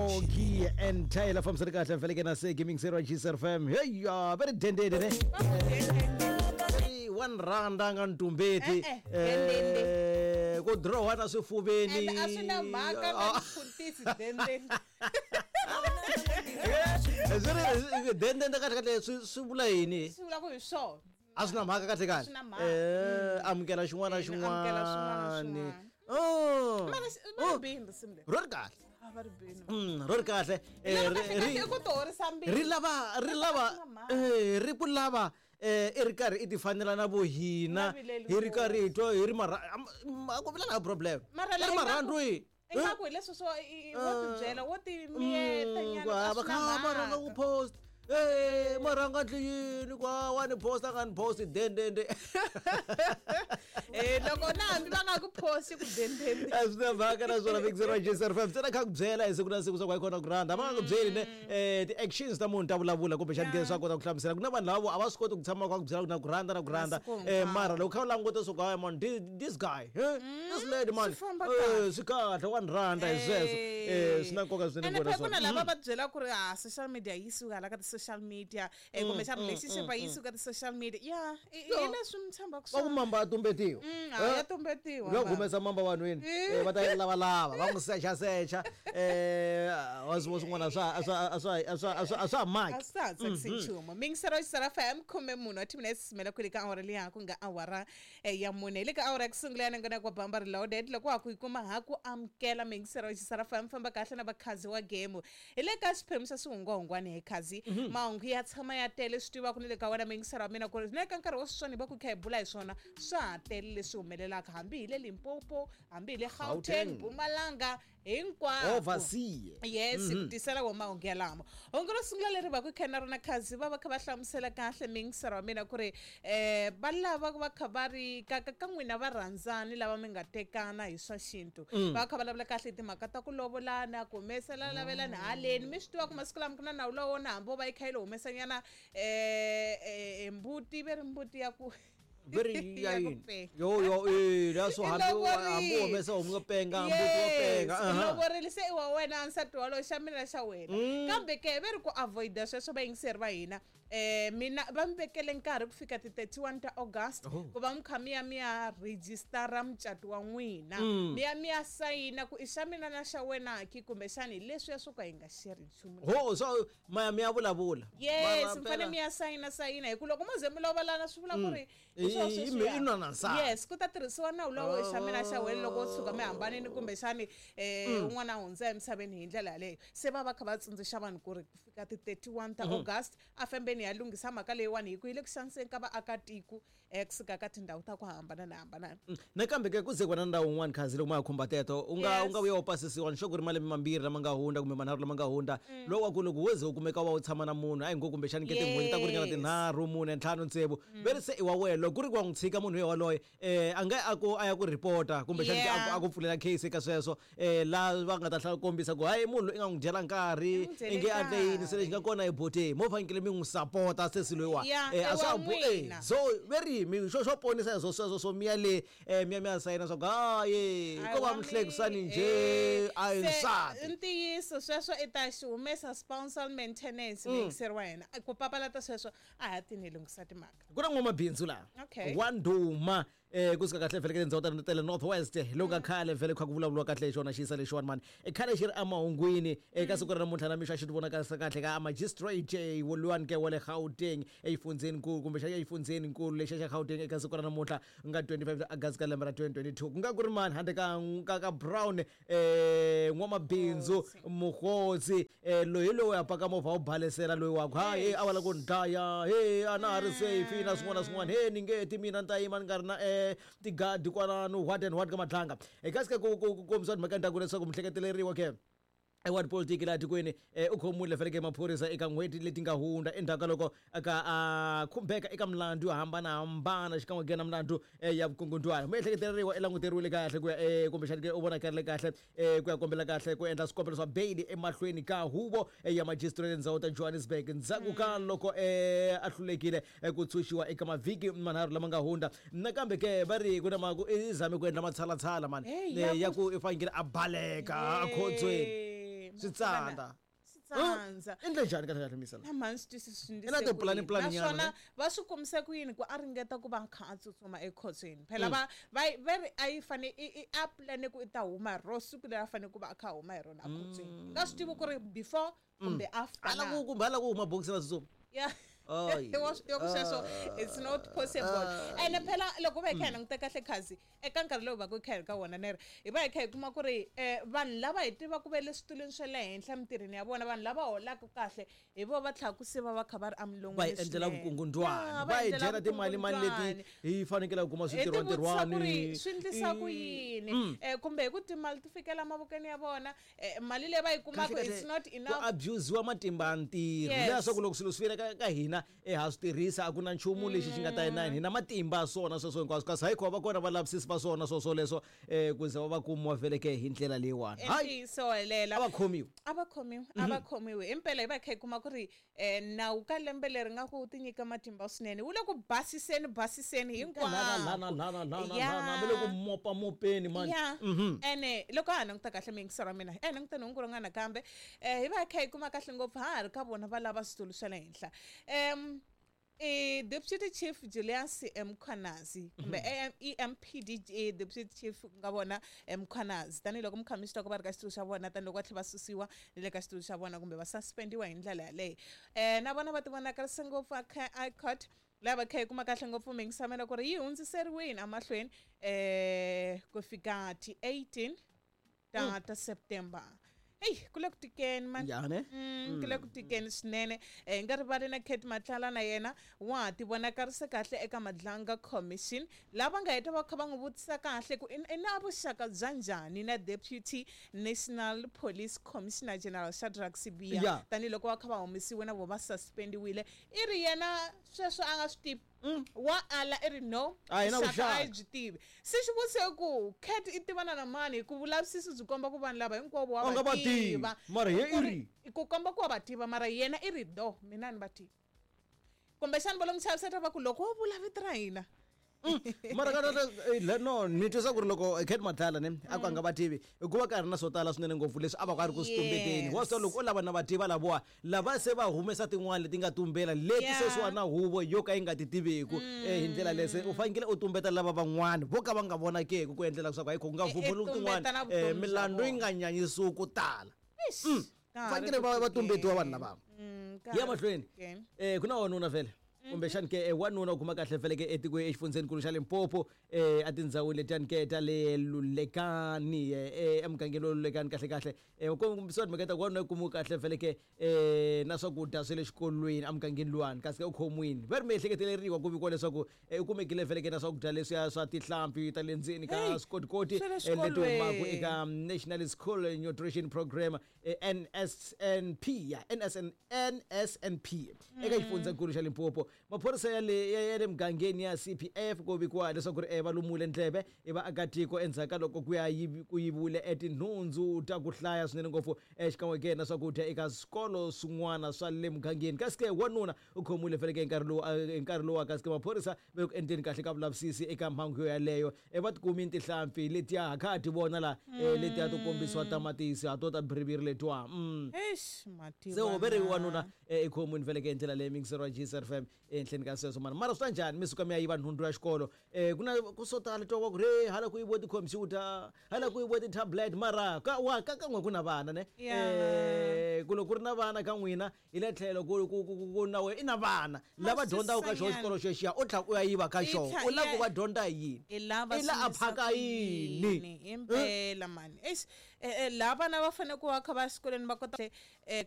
Oki and Tyler fambisani kahle mfeleke na se gaming zero GSR FM. Hey ya, very dendede ne. Very one rand a nga ntumbeti. Eh, eh, dendende. Ku draw na swifuveni. And a swi na mhaka na Ah. mfundhisi dendende. Swi ri dendende kahle kahle swi vula yini? Swi vula ku hi swona. A swi na mhaka kahle kahle. Swi na mhaka. Amukela xin'wana na Eh, amukela xin'wana na xin'wana. xin'wana. Oh. Mara va ri bini risimu leri. Ro ri kahle. A va ri bini. Ro ri kahle. Lero kahle kahle i ku tihorisa mbilu. Ri lava ri lava Swi na mhaka. ri ku lava i ri karhi i ti fanela na vo hina Na vileli hi ri karhi hi twa hi ri mara a ku vila na problem. Mara I ri marhandu hi. Ingaku hi leswi swo wo tibyela wo ti miyeta nyana a Va swi kha na va rhanga ku mhaka. post. Marhanga ndli yini kwa wa ni post a nga ni post dendende. Loko na hambi va nga ku posti ku dendende. A swi na mhaka naswona Big Zero GSR FM ntsena kha ku byela hi siku na siku swa ku hayikhona ku rhandza va nga ku byeli ne ti-actions ta munhu ta vulavula kumbexani ke swa kota ku hlamusela ku na vanhu lava a va swi koti ku tshama kha ku byela ku na ku rhandza na ku rhandza. Masiku hinkwawo. Mara loko kha u languta swo ku hayi man, this guy, this lady man, Swi famba kahle. swi kahle wa ni rhandza hi sweswo. Swi na nkoka swinene Ene ku vona phela ku na swona. lava va byela ku ri a social media yi suka hala ka ti-social media, kumbexana relationship a yi suka ti-social media ya hi leswi mi tshembaka Va ku swona. mamba a tumbetiwa. A ya tumbetiwa Loko mamba. humesa mamba vanhwini, va ta yi lavalava va n'wi sechasecha, wa swi swin'wana a swa a swa a swa a swa ha A maki. swi ha tsakisi nchumu. Mingisero xisara FM 14 wa timinete simela kwele ka awara liya ku nga awara ya mune. Hi le ka awara ya ku sungula ya nangona kwa Bamba Reloaded loko ha ku yi kuma ha ku amukela mingisero xisara FM famba kahle na vakhazi wa game. Hi le ka xiphemu xa swihungwahungwani hi khazi mahungu ya tshama ya tele swi tiva ku ni le ka wena mingisero wa mina ku ri ni le ka nkarhi wa sweswiwani hi va ku kha hi bula hi swona swa ha tele leswi humelelaka hambi hi le Limpopo hambi hi le Gauteng Gauteng. Mpumalanga hinkwako. Oversea. Yes, ku tisela wo mahungu yalamo. Hungu ro sungula leri va ku kha na rona khazi va va kha va hlamusela kahle mingisero wa mina ku ri va lava va kha va ri ka n'wina va rhandzani lava mi nga tekana hi swa xintu. Va kha va vulavula kahle hi timhaka ta ku lovolana ku humesela lavelani haleni mi swi tiva ku masiku lama ku na nawu lowo na hambi wo va yi kha yi lo humesanyana mbuti ve ri mbuti ya ku Very ya ya ku yini? penga. Yo yo that's I hambi lovorile. u humesa homu yo penga mbuti wo penga. Yes, i lovorile se i wa wena nsati walowo xa mina xa wena. Kambe ke ve ri ku avoida sweswo vayingiseri va hina mina va mi vekele nkarhi ku fika ti 31 ta August Oh. ku va mi kha mi ya mi ya rejistara mucato wa n'wina. Mi ya mi ya sayina ku i xa mina na xa wena ki kumbexani hi leswiya swo ka hi nga sheri nchumu. Ho so maya mi ya vulavula. Yes, Mara mi fanele phela- mi ya sayina sayina hi ku loko mo ze mi lovolana swi vula ku ri hi swona sweswiya. I nwa na nsati. Yes, ku ta tirhisiwa nawu lowo i xa mina xa wena loko wo tshuka mi hambanile kumbexani un'wana a hundza emisaveni hi ndlela yaleyo. Se va va kha va tsundzuxa vanhu ku ri ku fika ti 31 ta August a fambeni ya lunghisa mhaka leyiwani hi ku yi le ku xaniseni ka vaakatiko kusuka ka tindhawu ta ku hambanana hambanana. Nakambe ke ku ze ku va na ndhawu wun'wani khazi loko ma ha khumba teto u nga Yes. u nga vuya u pasisiwa ni sure ku ri malembe mambirhi lama nga hundza kumbe manharhu lama nga hundza lowu wa ku loko wo ze u kumeka wa u tshama na munhu a hi ngo kumbexani ke tin'hweti ta ku ringana Yes. tinharhu mune ntlhanu tsevu ve ri se i wa wena loko ku ri ku wa n'wi tshika munhu yoloye a nga a ku a ya ku report-a kumbexani ke a ku pfulela case eka sweswo la va nga ta kombisa ku hayi munhu loyi i nga n'wi dyela nkarhi I n'wi dyele i nge a endle yini se lexi nga nkarhi. kona hi boteni mo fanekele mi n'wi sapota sesi loyiwa. Yeah, A i swa wa ha n'wina. so ve ri mi xo ponisa hi swo sweswo swo miya le miya mi ya sayina swa ku hayi A ko va wa muhlekisani mi- njhe a hi Se, nsati. ntiyiso sweswo i ta xi humesa spousal maintenance muyingiseri wa hina ku papalata sweswo a ha tini hi lunghisa timhaka. Ku na n'wamabindzu laha Okay. wa ndhuma kusuka kahle vhele ka tindhawu ta le North West loku ka khale vhele kha ku vulavuriwa kahle hi xona xiyisa lexiwani mani i khale xi ri emahungwini eka siku ra namuntlha na mixo a xi ti vonakarisa kahle ka magistrate woluwani ke wa le Gauteng exifundzheninkulu kumbexana exifundzheninkulu lexiya xa Gauteng eka siku ra namuntlha ku nga 25 August ka lembe ra 2022 ku nga ku ri mani handle ka Brown n'wamabindzu Mokgotsi loyi hi loyi a paka movha wu balesela loyi wa ku hayi a va lava ku ni dlaya he a na ha ri safe na swin'wana na swin'wana he ni nge ti mina ni ta yima ni nga ri na tigadi kwalano what and what ka matlanga kasi ka ku kombisa timhaka ndhaku leswaku mihleketeleriwa ke wa tipolitiki laha tikweni u khomiwile faneke maphorisa eka n'hweti leti nga hundza endzhaku ka loko ka a khumbeka eka milandzu yo hambanahambana xikan'we ke na milandzu ya vukungundzwana. Miehleketeleriwa i languteriwile kahle ku ya kumbexani ke u vonakarile kahle ku ya kombela kahle ku endla swikombelo swa beyili emahlweni ka huvo ya magistrate ndzhawu ta Johannesburg ndzhaku ka loko a hlulekile ku tshunxiwa eka mavhiki manharhu lama nga hundza. Nakambe ke va ri ku na i zame ku endla matshalatshala mani Hey, ya ku i fanekele a baleka a khotsweni. Swi tsandza. Swi tsandza. Endle njhani kahle kahle misala? Na mhani swi twisisi swi I na tipulani pulani nyana, naswona ne? Va swi kombisa ku yini ku a ringeta ku va a kha a tsutsuma ekhotsweni? Phela va va ri a yi fane a pulane ku i ta huma hi ro siku leri a fanele ku va a kha a huma hi rona ekhotsweni. Nga swi tivi ku ri before kumbe after A na. la ku kumbe a la ku huma bokisi ra tsutsuma. Yeah. Ay. Wa swi tiva ku sweswo it's not possible. Ene phela loko va hi kha hi languta kahle khazi eka nkarhi lowu va ku hi kha hi ri ka wona, neri hi va hi kha hi kuma ku ri vanhu lava hi tivaka va le switulwini swa le henhla emitirhweni ya vona, vanhu lava holaka kahle, hi vo va tlhaka ku se va va kha va ri emilon'wini Va hi endlela swinene. vukungundwani. Ya, Va hi endlela dyela timali mali leti vukungundwani. hi fanekelaka ku kuma Hi ti vutisa ku ri switirhwantirhwani. swi endlisa ku yini, kumbe hi ku timali ti fikela mavokweni ya vona, mali leyi va yi kumaka Kahle, it's kahle, not ku enough. abusiwa matimba ya ntirho. Leswaku loko swilo swi fika ka hina, ha swi tirhisa, a ku na nchumu lexi xi nga ta hina hina matimba ya swona sweswo hinkwaswo, kasi hayi kho va kona valavisisi va swona swoswo leswo, ku ze va va kumiwa veleke hi ndlela leyiwani. Hayi. Ntiyiso helela. A va khomiwi. A va khomiwi, a va khomiwi himpela. Hi va hi kha hi kuma ku ri nawu ka lembe leri nga ku ti nyika matimba swinene wu le ku basiseni basiseni Lana lana hinkwako. lana lana. Ya. Lana va le ku mopa mopeni mani. Ya, ene loko ha languta kahle miyingisero wa mina, e languta nhungu rin'wana nakambe, hi va hi kha hi kuma kahle ngopfu ha ha ri ka vona va lava switulu swa le henhla, i Deputy Chief Julius Mkhwanazi kumbe EMPD, Deputy Chief ku nga vona Mkhwanazi, tanihiloko mi kha mi swi twa ku va ri ka xitulu xa vona, tanihiloko va tlhela va susiwa ni le ka xitulu xa vona kumbe va suspendiwa hi ndlela yaleyo, na vona va ti vonakarise ngopfu a court laha va kha hi kuma kahle ngopfu miyingisamela ku ri yi hundziseriwini emahlweni ku fika ti 18 ta September. Eyi, ku le ku tikeni mani. Ya ne. Ku le ku tikeni swinene. Hi nga rivali na Cat Matlala, na yena wa ha ti vonakarise kahle eka Madlanga Commission, lava nga heta va kha va n'wi vutisa kahle ku i na vuxaka bya njhani na Deputy National Police Commissioner General Shadrack Sibiya, tanihiloko va kha va humesiwe na vo va suspendiwile. I ri yena sweswo a nga swi tivi, wa ala, i ri no. A hi na vuxaka a hi vuxaka. byi tivi. Se xivutiso i ku Cat i tivana na mani, hi ku vulavisisi byi komba ku vanhu lava hinkwavo wa A nga va va tivi. tiva. Mara ye Ku i ri- ri. Ku komba ku wa va tiva, mara yena i ri do, mina ni va tivi. Kumbexani va lo n'wi chaviseta va ku loko wo vula vito ra hina. Mara ka no ni twisa ku ri loko Cat Matlala ne a ku a nga va tivi, hikuva ka ri na swo tala swinene ngopfu leswi a va ka ri ku swi tumbeteni. Wa swi tiva loko u lava na va tiva lavowa lava se va humesa tin'wani leti nga tumbela leti sweswiwa na huvo yo ka yi nga ti tiveku. Hi ndlela leyi se u fanekele u tumbeta lava van'wani vo ka va nga vonakeki ku endlela leswaku hayi ku nga I vumbuluki tin'wani, tumbeta na vutomi bya milandzu yi vona. nga nyanyisiwi ku tala. Eish, ka ha ri Fanekele ku va tikeni. tumbetiwa vanhu lava. Ka Ya ha ri ku mahlweni. tikeni. Ku na wanuna vhele kumbexani ke, wanuna u kuma kahle vhele ke etikweni exifundzhenikulu xa Limpopo, etindhawini letiyani ke ta le Lulekani, emugangeni wa Lulekani kahle kahle. Kombisiwa timhaka ta ku wanuna u kumiwe kahle vhele ke na swakudya swa le xikolweni emugangeni luwani, kasi ke u khomiwini va ri miehleketeleriwa ku vikiwa leswaku u kumekile vhele ke na swakudya leswiya swa tihlampfi ta le ndzeni ka Hey, swikotikoti, swa le leti humaka xikolweni. eka National School Nutrition Program, NSNP, ya NSNP eka xifundzankulu xa Limpopo. Maphorisa ya le mugangeni ya CPF ku vikiwa leswaku ri va lumule ndleve i vaakatiko endzhaku ka loko ku ya ku yiviwile etinhundzu ta ku hlaya swinene ngopfu, xikan'we ke na swakudya eka swikolo swin'wana swa le mugangeni. Kasi ke wanuna u khomiwile feleke hi nkarhi lowu, hi nkarhi lowu, kasi ke maphorisa va le ku endleni kahle ka vulavisisi eka mhangu yo yaleyo. Va tikumini tihlampfi letiya ha kha ha ti vona la, letiya to kombisiwa tamatisi ha to ta biriviri letiwa. Eish, mativa Se ve ri na. wanuna, i khomiwini veleke hi ndlela leyi mingisero wa GSRFM ehenhleni ka sweswo mani. Mara swi ta njhani mi suka mi ya yiva nhundzu ya xikolo? Ku na ku swo tala twa wa ku ri hala ku yiviwe tikhompyuta, hala ku yiviwe ti-tablet, mara ka wa ka kan'we ku na vana ne. Ku loko ku ri na vana ka n'wina hi le tlhelo ku na we i na vana lava dyondzaka ka xona swisanyana. Xikolo xexiya u tlhela u ya yiva ka I xona, u lava ku va dyondza hi yini? I lava I la a swi endlisa phaka ku yini? yini? Impela mani. Eish, laha vana va fanele ku va kha va xikolweni va kota.